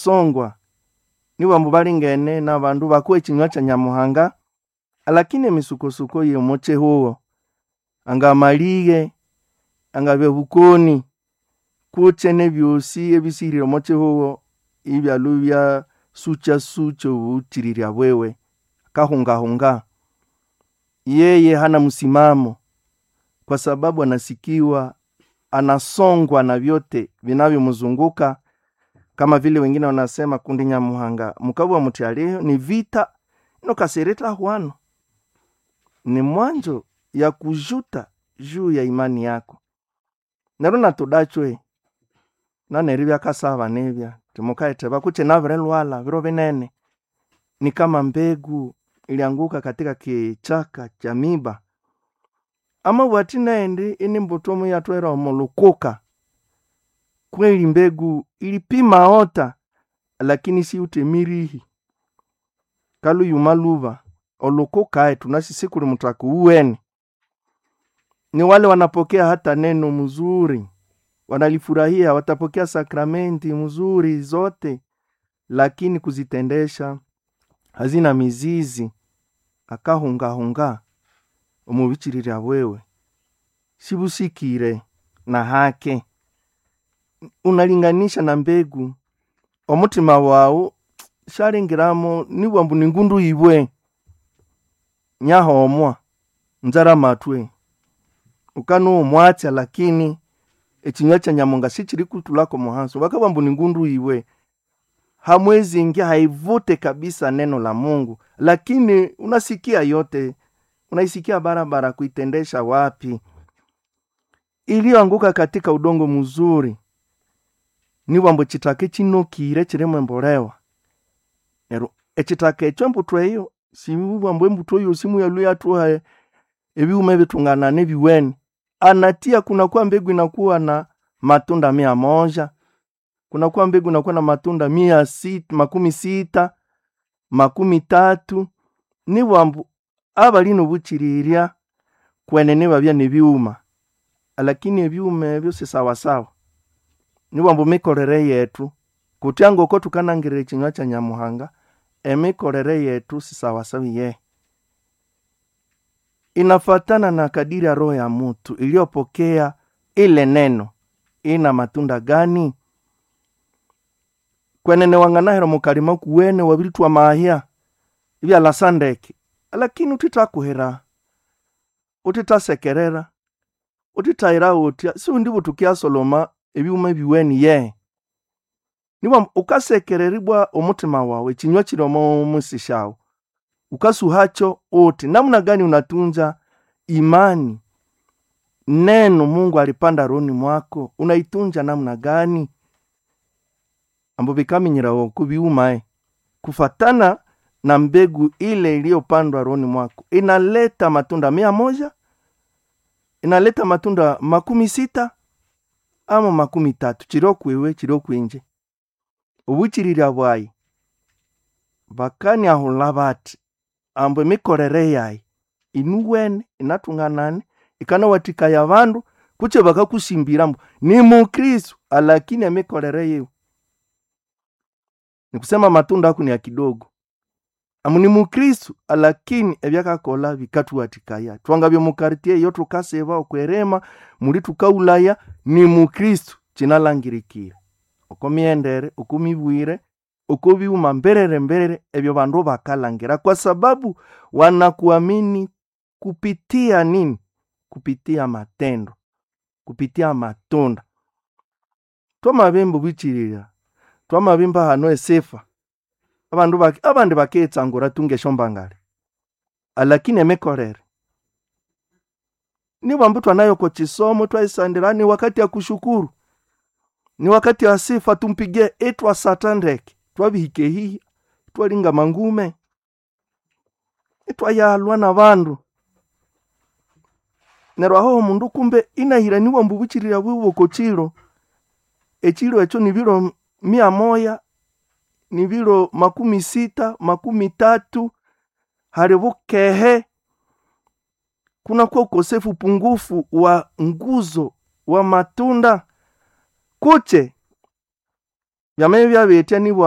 Anasongwa niwambu balingene n'abandu bakuwa ekinywa kya Nyamuhanga, lakini emisukosuko y'omo kihugo, angamaliye, angabya bukoni, kutse n'ebyosi ebisihirire omo kihugo ibyalwa ibyasukyasukya obukirirya bwiwe, akahungahunga. Yeye hana msimamo kwa sababu anasikiwa anasongwa na vyote vinavyomzunguka, kama vile wengine wanasema kundi Nyamuhanga mukabwa muti aliyo ni vita nokasirita hwano ni mwanzo ya kujuta juu ya imani yako. Neryo natudachwe naneri byakasaba nibya timukaitheba kutse nabirilwala biro binene, ni kama mbegu ilianguka katika kichaka cha miba. Amabwa athi nendi ini mbuto muyathwera omo lukuka. Kweli mbegu ilipima ota lakini siwuthe mirihi, kaluyuma luba olukuka tunasi sikuli muthaka uwene. Ni wale wanapokea hata neno mzuri, wanalifurahia, watapokea sakramenti mzuri zote, lakini kuzitendesha hazina mizizi, akahungahunga omubichirirya bwewe sibusikire na hake. Unalinganisha na mbegu, omutima wawu syalingiramo nibwambu ningundu ibwe nyahomwa nzara matwe ukanowa omwatsya lakini ekinywa kya Nyamuhanga sikirikutulhako omuhaso bakabugha ambu ningundu ibwe hamwezi ingia haivute kabisa neno la Mungu, lakini unasikia yote, unaisikia barabara kuitendesha wapi? Iliyoanguka katika udongo mzuri nibwambu ekithaka ekinokire kirimu embolewa. Neryo ekithaka ekyo embuthu eyo sibwambu embuthu eyosi muyalhwa iyathuha ebighuma ebithunganane ebiwene. Anatia kunakuwa mbegu inakuwa na matunda 100, kunakuwa mbegu inakuwa na matunda 600, 60, 30. Nibwambu abali nobuchirirya kwenene babya nebighuma, lakini ebighuma ebyo si sawasawa. Nibwambu emikolere yethu kutya ngoko thukanangirira ekinywa kya Nyamuhanga, emikolere yethu si sawasawa iyehe. Inafatana na kadiri ya roho ya mutu iliyopokea ile neno, ina matunda gani? Kwenene wanganahera omukalima kuwene wabirithwa amahya ibyalasa ndeke, lakini uthithakuhira, uthithasekerera, uthithayira wuthya siwundi buthukiyasoloma ebighuma ebiwene iyehe. Nibwambu wukasekerera ibwa omuthima wawu ekinywa kiri omo musi syawu, wukasuhakyo wuthi namuna gani unatunza imani neno Mungu alipanda rohoni mwako unaitunja namna gani? Ambu bikaminyirawa oku bighuma kufatana na mbegu ile iliyopandwa rohoni mwako inaleta matunda 100, inaleta matunda 60 ama 30, kiri okwiwe kiri okwinje. Obuchirirya bwayi bakaniahulha bathi ambu emikolere yayi inuwene inathunganane ikanawathikaya abandu kutse bakakusimbira ambu ni Mukristo alakini emikolere yiwe nikusema matunda ako ni ya kidogo. Amu ni Mukristo alakini ebyakakolha bikathuwathikaya. Thwangabya omu quartier eyo thukasiba okwerema muli thukaghulhaya ni Mukristo kinalhangirikire oko mighendere, oko mibwire, oko bighuma mberere mberere ebyo bandu bakalhangira kwa sababu wanakuamini kupitia nini? Kupitia matendo, kupitia matunda. Twamabimba obuchirirya, twamabimba hano esifa, abandu baki abandi bakiyitsangura tu ngesyombangale, alakini emikolere nibwambu thwanayo oko kisomo thwayisandira ni wakati ya kushukuru, ni wakati wa sifa tumpigie ithwasatha ndeke, twabihika ehihi, ithwalinga amangume, ithwayalhwa n'abandu. Neryo aho omundu kumbe inahira nibwambu obuchirirya bwiwe oko kiro, ekiro ekyo nibiro 100, nibiro 60, 30, hali bukehe kunakuwa ukosefu pungufu wa nguzo wa matunda kutse byamabya byabethya nibwa